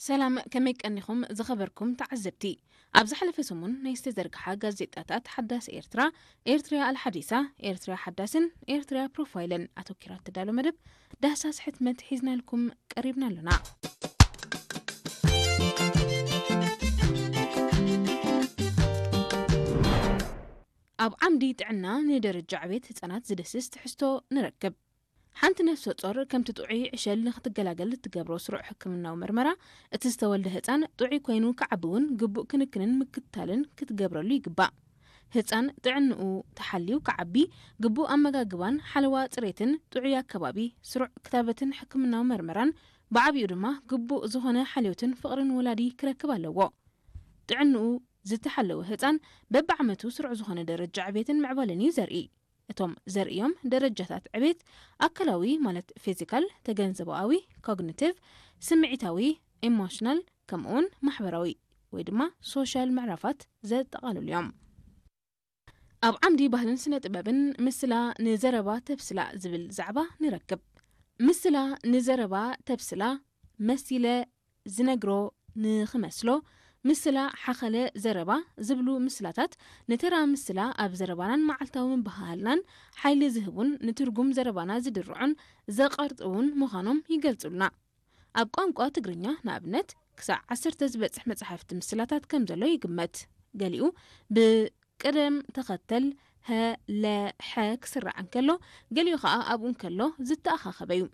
ሰላም፣ ከመይ ቀኒኹም ዝኸበርኩም ተዓዘብቲ? ኣብ ዝሓለፈ ሰሙን ናይ ዝተዘርግሓ ጋዜጣታት ሓዳስ ኤርትራ፣ ኤርትርያ ኣልሓዲሳ፣ ኤርትርያ ሓዳስን ኤርትርያ ፕሮፋይልን ኣተኪራ እትዳሎ መደብ ዳህሳስ ሕትመት ሒዝናልኩም ቀሪብና ኣሎና። ኣብ ዓምዲ ጥዕና ንደረጃ ዕቤት ህጻናት ዝድህስስ ትሕዝቶ ንረክብ። ሓንቲ ነፍሰ ጾር ከምቲ ጥዑይ ዕሸል ንክትገላገል እትገብሮ ስሩዕ ሕክምናዊ መርመራ፣ እቲ ዝተወልደ ህጻን ጥዑይ ኮይኑ ክዓቢ እውን ግቡእ ክንክንን ምክትታልን ክትገብረሉ ይግባእ። ህጻን ጥዕንኡ ተሓልዩ ክዓቢ፣ ግቡእ ኣመጋግባን ሓለዋ ጽሬትን ጥዑይ ኣከባቢ፣ ስሩዕ ክታበትን ሕክምናዊ መርመራን፣ ብዓቢኡ ድማ ግቡእ ዝኾነ ሓልዮትን ፍቕርን ወላዲ ክረክብ ኣለዎ። ጥዕንኡ ዝተሓለወ ህጻን በብዓመቱ ስሩዕ ዝኾነ ደረጃ ዕቤትን ምዕባለን እዩ ዘርኢ። እቶም ዘርእዮም ደረጃታት ዕቤት ኣካላዊ ማለት ፊዚካል፣ ተገንዘባዊ ኮግኒቲቭ፣ ስምዒታዊ ኢሞሽናል፣ ከምኡውን ማሕበራዊ ወይ ድማ ሶሻል ምዕራፋት ዘጠቓልሉ እዮም። ኣብ ዓምዲ ባህልን ስነ ጥበብን ምስላ ንዘረባ ተብስላ ዝብል ዛዕባ ንረክብ። ምስላ ንዘረባ ተብስላ፣ መሲለ ዝነግሮ ንኽመስሎ፣ ምስላ ሓኸለ ዘረባ ዝብሉ ምስላታት ንተራ ምስላ ኣብ ዘረባናን መዓልታዊ ምብህሃልናን ሓይሊ ዝህቡን ንትርጉም ዘረባና ዝድርዑን ዘቐርጥውን ምዃኖም ይገልጹልና። ኣብ ቋንቋ ትግርኛ ንኣብነት ክሳዕ ዓሰርተ ዝበጽሕ መጻሕፍቲ ምስላታት ከም ዘሎ ይግመት። ገሊኡ ብቅደም ተኸተል ሀ፣ ለ፣ ሐ ክስራዕ እንከሎ፣ ገሊኡ ኸኣ ኣብኡ እንከሎ ዝተኣኻኸበ እዩ።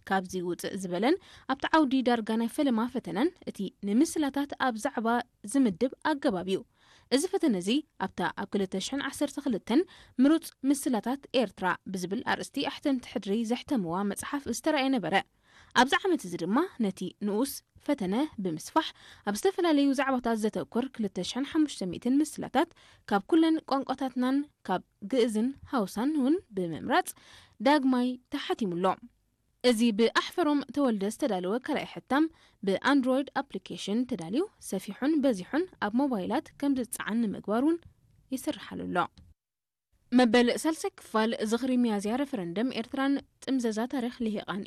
ካብዚ ውጽእ ዝበለን ኣብቲ ዓውዲ ዳርጋ ናይ ፈለማ ፈተነን እቲ ንምስላታት ኣብ ዛዕባ ዝምድብ ኣገባብ እዩ። እዚ ፈተነ እዚ ኣብታ ኣብ ክልተ ሽሕን ዓሰርተ ክልተን ምሩጽ ምስላታት ኤርትራ ብዝብል ኣርእስቲ ኣሕተምቲ ሕድሪ ዘሕተምዋ መጽሓፍ ዝተራእየ ነበረ። ኣብዚ ዓመት እዚ ድማ ነቲ ንኡስ ፈተነ ብምስፋሕ ኣብ ዝተፈላለዩ ዛዕባታት ዘተኩር ክልተ ሽሕን ሓሙሽተ ሚእትን ምስላታት ካብ ኩለን ቋንቋታትናን ካብ ግእዝን ሃውሳን እውን ብምምራጽ ዳግማይ ተሓቲሙ ኣሎ። እዚ ብኣሕፈሮም ተወልደ ዝተዳለወ ካልኣይ ሕታም ብኣንድሮይድ ኣፕሊኬሽን ተዳልዩ ሰፊሑን በዚሑን ኣብ ሞባይላት ከም ዝጸዓን ንምግባር እውን ይስርሓሉ ኣሎ። መበል ሳልሳይ ክፋል ዝኽሪ ሚያዝያ ረፈረንደም ኤርትራን ጥምዘዛ ታሪኽ ልሂቓን